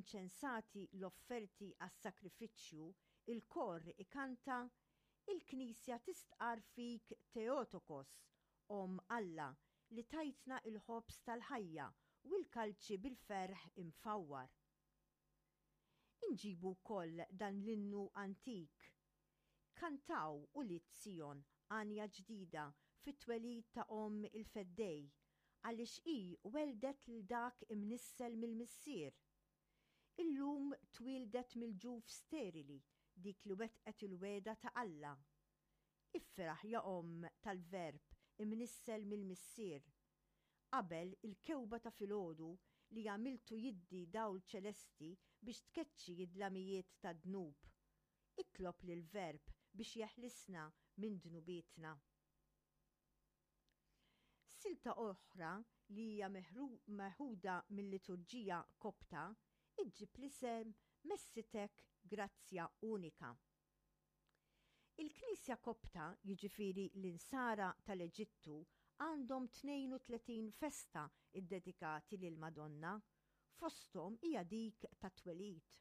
inċensati l-offerti għas-sagrifiċċju, il-kor ikanta, Il-Knisja tistqarr fik Theotokos, Omm Alla, li tajtna l-ħobż tal-ħajja u l-kalċi bil-ferħ imfawwar. Inġibu wkoll dan l-innu antik, Kantaw, ulied Sijon, għanja ġdida fit-twelid ta' Omm il-Feddej, għaliex hi welldet lil dak imnissel mill-Missier. Illum twieldet mill-ġuf sterili dik li wettqet il-wegħda ta' Alla. Ifraħ ja Omm tal-Verb imnissel mill-Missier. Qabel il-kewba ta' filgħodu li għamiltu jiddi dawl ċelesti biex tkeċċi d-dlamijiet tad-dnub. Itlob lill-Verb biex jeħlisna minn dnubietna. Silta oħra li hija meħuda mil-liturġija Kopta iġġib l-isem Messitek Grazzja Unika. Il-Knisja Kopta, jiġifieri l-Insara tal-Eġittu, għandhom 32 festa ddedikati lill-Madonna, fosthom hija dik tat-twelid.